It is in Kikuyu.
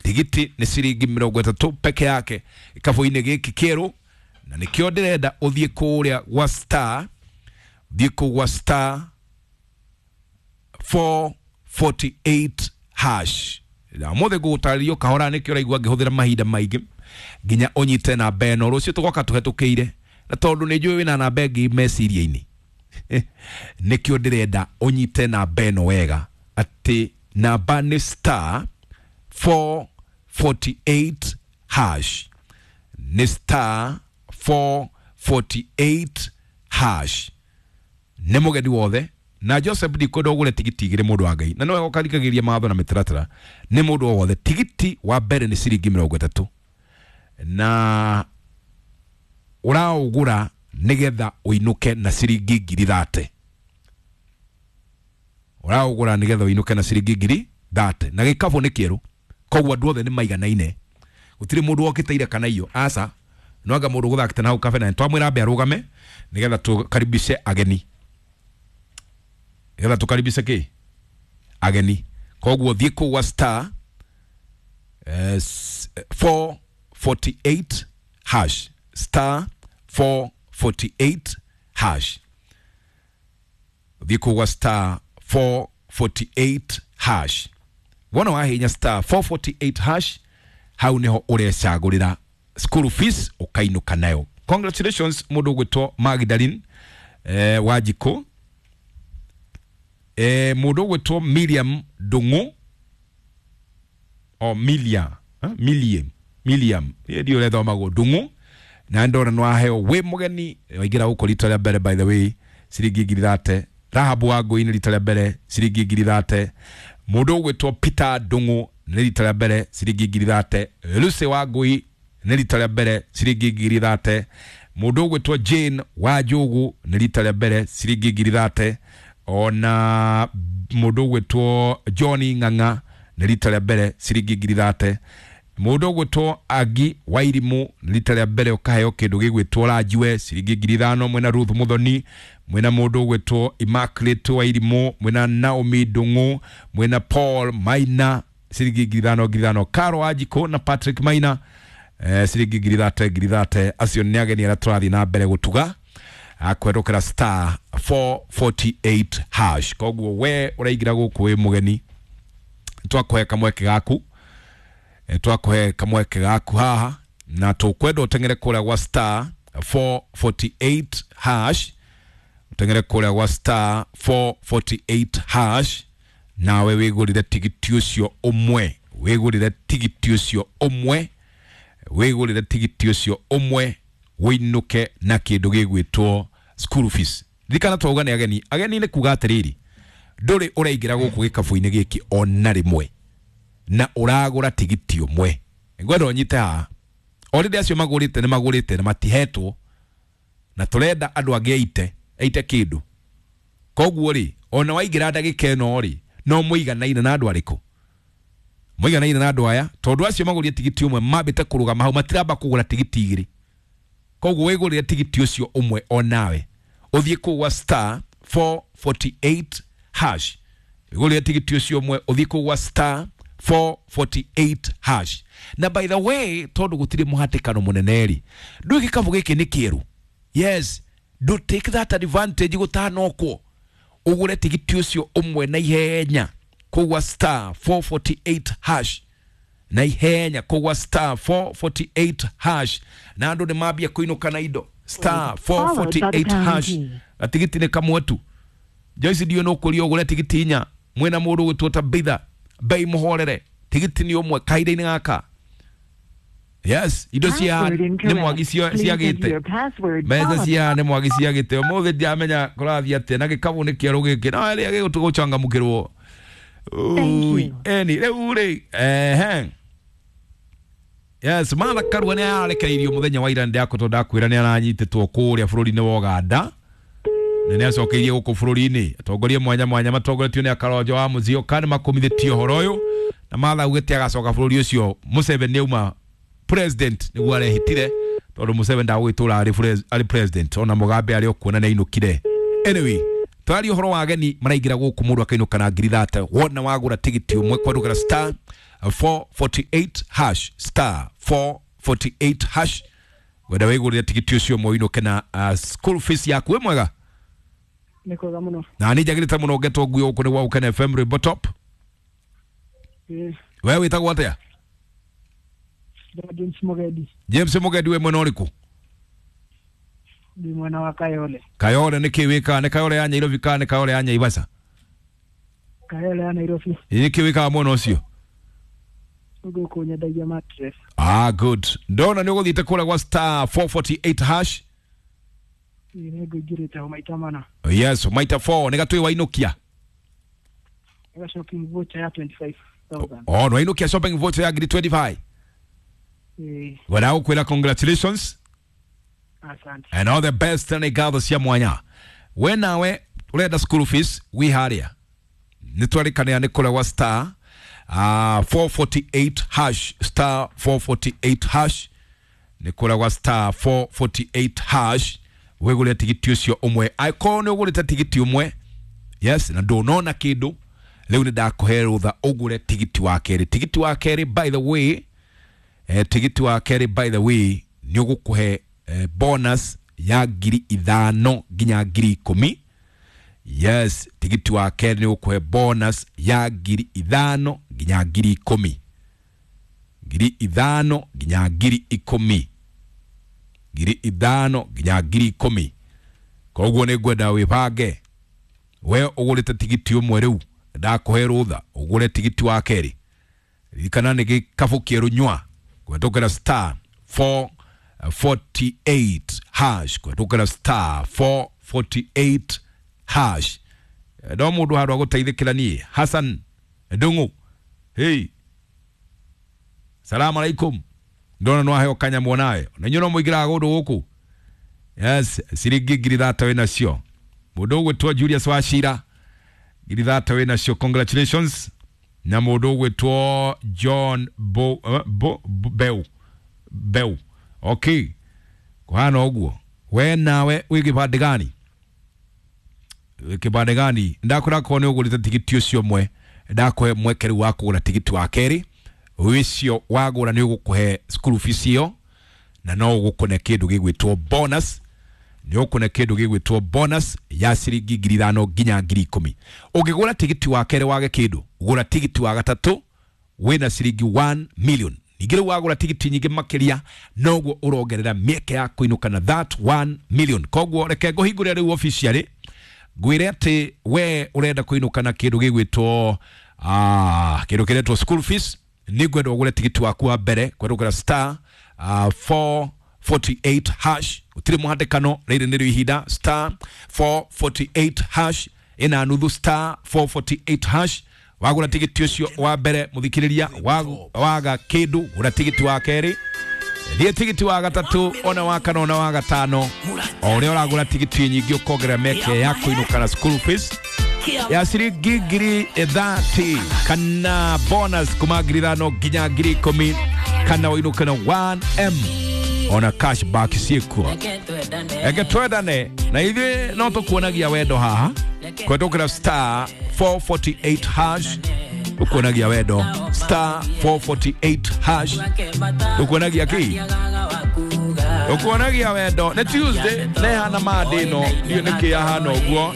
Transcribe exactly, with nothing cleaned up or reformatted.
Tigiti nĩ ciringi mĩrongo ĩtatũ peke yake gĩkabũ-inĩ gĩkĩ kĩerũ, na nĩkĩo ndĩrenda ũthiĩ kũrĩa gwa star, ũthiĩ kũu gwa star four forty-eight hash. Na ũmũthĩ ngũgũtarĩria kahora, nĩkĩo ũraigua ngĩhũthĩra mahinda maingĩ nginya ũnyite namba ĩno. Rũciũ tũgoka tũhetũkĩire, na tondũ nĩ njũĩ wĩna namba ĩngĩ meciria-inĩ, nĩkĩo ndĩrenda ũnyite namba ĩno wega, atĩ namba nĩ star four forty-eight hash, nĩ star four forty-eight hash. Nĩ mũgeni wothe na Joseph ndikwenda ũgũre tigiti igĩrĩ mũndũ wa Ngai, na nĩwe ũkarikagĩria mawatho na mĩtaratara. Nĩ mũndũ o wothe, tigiti wa mbere nĩ ciringi mĩrongo ĩtatũ, na ũraũgũra nĩgetha ũinũke na ciringi ngiri thate. Ũraũgũra nĩgetha ũinũke na ciringi ngiri thate, na gĩkabũ nĩ kĩerũ, koguo andũ othe nĩ maiganaine, gũtirĩ mũndũ wokĩte ira kana iyo. Aca, no anga mũndũ gũthakĩte na hau kabere, na twamwĩra ambe arũgame nĩgetha tũkaribishe ageni, nĩgetha tũkaribishe kĩ ageni. Koguo thiĩ kũu gwa star eh, four forty-eight hash, star four forty-eight hash, thiĩ kũu gwa star four forty-eight hash. Wona wahinya star four forty-eight hash, hau niho ũrecagũrĩra school fees ũkainũka nayo. Congratulations mũndũ ũgwĩtwo Magdalene eh, Wanjikũ, eh, mũndũ ũgwĩtwo Miriam Ndung'u o Milia, eh? Miliam, Miliam ndiũ ũrethomagwo Ndung'u, na ndona nĩ waheo wĩ mũgeni waingĩra gũkũ rita rĩa mbere, by the way, ciringi ngiri thate. Rahabu wa Ngũi nĩ rita rĩa mbere ciringi ngiri thate. Mũndũ ũgwĩtwo Peter Ndung'u nĩ rita rĩa mbere ciringi ngiri thate. Lucy wa Ngũi nĩ rita rĩa mbere ciringi ngiri thate. Mũndũ ũgwĩtwo Jane wa Njogu nĩ rita rĩa mbere ciringi ngiri thate. Ona mũndũ ũgwĩtwo John Ng'ang'a nĩ rita rĩa mbere ciringi ngiri thate. Mũndũ ũgwĩtwo Agi Wairimu nĩ rita rĩa mbere ũkaheo kĩndũ gĩgwĩtwo Ranjiwe ciringi ngiri ithano. Mwena Ruth Muthoni, mwena mũndũ ũgwĩtwo Immaculate Wairimu, mwena Naomi Ndung'u, mwena Paul Maina ciringi ngiri ithano ngiri ithano. Caro Wanjikũ na Patrick Maina eh, ciringi ngiri thate ngiri thate. Acio nĩ ageni arĩa tũrathiĩ na mbere gũtuga akwendũkĩra star four forty-eight hash. Koguo we ũraingĩra gũkũ wĩ mũgeni, twakũhe kamweke gaku, twakũhe kamweke gaku haha, na tũkwenda ũteng'ere kũrĩa gwa star four forty-eight hash, ũteng'ere kũrĩa gwa star four forty-eight hash, nawe wĩgũrĩre tigiti ũcio ũmwe, wĩgũrĩre tigiti ũcio ũmwe, wĩgũrĩre tigiti ũcio ũmwe, wĩinũke na kĩndũ gĩgwĩtwo school fees. Ririkana twauga nĩ ageni, ageni nĩ kuga atĩrĩrĩ, ndũrĩ ũraingĩra gũkũ gĩkabũ-inĩ gĩkĩ ona rĩmwe na ũragũra tigiti ũmwe. Ngwenda ũnyite haha, already acio magũrĩte nĩ magũrĩte na matihetwo, na tũrenda andũ angĩ aite aite kĩndũ. Koguo rĩ, ona waingĩra ndagĩka ĩno rĩ, no mũiganaine na andũ arĩkũ? Mũiganaine na andũ aya, tondũ acio magũrire tigiti ũmwe mambĩte kũrũgama hau, matiramba kũgũra tigiti igĩrĩ. Koguo wĩgũrĩre tigiti ũcio ũmwe onawe, ũthiĩ kũu gwa star four forty-eight hash, wĩgũrĩre tigiti ũcio ũmwe, ũthiĩ kũu gwa star four forty-eight hash. Na by the way, tondũ gũtirĩ mũhatĩkano mũnene rĩ, ndũĩ gĩkabũ gĩkĩ nĩ kĩerũ. Yes, do take that advantage gũtanokwo, ũgũre tigiti ũcio ũmwe na ihenya kũu gwa star four forty-eight hash, na ihenya kũu gwa star four forty-eight hash, na andũ nĩ mambia kũinũka na indo. Star four forty-eight hash, gatigiti nĩ kamwe tu. Joyce ndiũĩ nĩ ũkũria ũgũre tigiti inya, mwĩna mũndũ ũgwĩtwo Tabitha bei mũhorere, tigiti nĩ ũmwe kahinda-inĩ gaka. Yes, indo cia nĩ mwagi ciagĩte, mbeca cia nĩ mwagi ciagĩte. Ũmũthĩ ndiamenya kũrathiĩ atĩa na gĩkabũ nĩ kĩerũ gĩkĩ, no ĩrĩa gĩgũchangamũkĩrwo. Eni rĩu rĩ, ehe, yes, Martha Karua nĩ ararekereirio mũthenya wa ira, ndĩrakũtwo ndakwĩra nĩ aranyitĩtwo kũrĩa bũrũri-inĩ wa Uganda, na nĩ acokeirie gũkũ bũrũri-inĩ. Atongoria mwanya mwanya matongoretio nĩ Akaronjo wa Musyoka nĩ makũmithĩtie ũhoro ũyũ, na Martha augĩte agacoka bũrũri ũcio Museveni auma president nĩguo arehitire, tondũ Museveni ndagũgĩtũra arĩ president, ona Mugabe arĩ o kuona nĩ ainũkire. Anyway, Twaria ũhoro wa ageni maraingĩra gũkũ mũndũ akainũka na ngiri thate wona wagũra tigiti ũmwe kwadũkĩra star four forty-eight hash star four forty-eight hash wenda wĩgũrĩre tigiti ũcio ũmwe ũinũke na uh, school fees yaku. Wĩ mwega? Nĩ kwega mũno. Na nĩ njagĩrĩte mũno ngetwo nguo gũkũ nĩ gwa Gũkena F M Rwĩmbo Top. Ĩĩ. We wĩtagwo atĩa? James Mugendi. James Mugendi, wĩ mwena ũrĩkũ? Ndĩ mwena wa Kayole. Kayole nĩ kĩ wĩkaga? Nĩ Kayole ya Nyairobi kana nĩ Kayole ya Nyaivasha? Kayole ya Nairobi. Nĩ kĩ wĩkaga mwena ũcio? Gũkũ nyendagia mattress. Ah, good. Ndona nĩ ũgũthiĩte kũrĩa gwa star four forty-eight hash. Ĩĩ, nĩ ngũingĩrĩte ho maita mana. Yes, maita four. Nĩ gatwĩ wainũkia? Nĩ shopping voucher ya twenty-five thousand. Oh, nĩ shopping voucher ya ngiri twenty-five. Ĩĩ. Wena gũkwĩra congratulations. Asante. And all the best nĩ ngatho cia mwanya. We nawe ũrenda school fees wĩ harĩa. Nĩ twarĩkanĩra nĩ kũrĩa gwa star uh, four forty-eight hash star four forty-eight hash nĩ kũrĩa gwa star four forty-eight hash wĩgũre tigiti ũcio ũmwe. Angĩkorwo nĩ ũgũrĩte tigiti ũmwe, yes, na ndũnona kĩndũ, rĩu nĩ ndakũhe rũtha ũgũre tigiti wa kerĩ. Tigiti wa kerĩ by the way, eh, tigiti wa kerĩ by the way nĩ ũgũkũhe eh, bonus ya ngiri ithano nginya ngiri ikũmi. Yes, tigiti wa kerĩ nĩ ũgũkũhe bonus ya ngiri ithano nginya ngiri ikũmi. Ngiri ithano nginya ngiri ikũmi. Ngiri ithano nginya ngiri ikũmi. Koguo nĩ ngwenda wĩbange. We ũgũrĩte tigiti ũmwe rĩu, ndakũhe rũtha ũgũre tigiti wa kerĩ. Ririkana nĩ gĩkabũ kĩerũ nyua kũhetũkĩra star four forty-eight hash kũhetũkĩra star four forty-eight hash. No mũndũ handũ agũteithĩkĩra niĩ Hassan Ndung'u. Hey, salamu alaikum. Ndona no aheo kanya mwonawe na inyuĩ no mũingĩraga kũndũ gũkũ. Yes, ciringi ngiri thate wĩ nacio. Mũndũ ũgwĩtwo Julius Wachira ngiri thate wĩ nacio, congratulations. Na mũndũ ũgwĩtwo John Bo, uh, Bo, Bo, Beu Beu. Okay, kũhana ũguo. We nawe wĩ kĩbandĩ gani? Wĩ kĩbandĩ gani? Ndakwĩra korwo nĩ ũgũrĩte tigiti ũcio ũmwe, ndakũhe mweke rĩu wa kũgũra tigiti wa kerĩ. Ũcio wagũra nĩ ũgũkũhe school fees ĩyo, na no ũgũkũne kĩndũ gĩgwĩtwo bonus. Nĩ ũkũne kĩndũ gĩgwĩtwo bonus ya ciringi ngiri ithano nginya ngiri ikũmi. Ũngĩgũra tigiti wa kerĩ wage kĩndũ, gũra tigiti wa gatatũ wĩna ciringi one million. Ningĩ rĩu wagũra tigiti nyingĩ makĩria, noguo ũrongerera mĩeke ya kũinũka na that one million. Koguo reke ngũhingũre rĩu officially ngwĩre atĩ we ũrenda kũinũka na kĩndũ gĩgwĩtwo ah, kĩndũ kĩretwo school fees, nĩ ngwenda ũgũre tigiti waku wa mbere kwerũkĩra star uh, four forty-eight hash. Gũtirĩ mũhatĩkano, rĩrĩ nĩrĩo ihinda. Star four forty-eight hash ĩna nuthu star four forty-eight hash. Wagũra tigiti ũcio wa mbere mũthikĩrĩria, waga kĩndũ gũra tigiti wa kerĩ, thiĩ tigiti wa gatatũ, ona wa kana, ona wa gatano. O ũrĩa ũragũra tigiti nyingĩ ũkongerera mĩeke ya kũinũka na school fees ya ciringi ngiri thirty kana bonus kuma ngiri ithano nginya ngiri ikũmi kana ũinũke na one M ona cash back ciĩkuo. Eke twendane na ithuĩ no tũkuonagia wendo haha kũhetũkĩra star four forty-eight hash. Ũkuonagia wendo star four forty-eight hash. Ũkuonagia kĩ? Ũkuonagia wendo. Nĩ Tuesday nĩ hana Monday no ndiũĩ nĩkĩ yahana ũguo.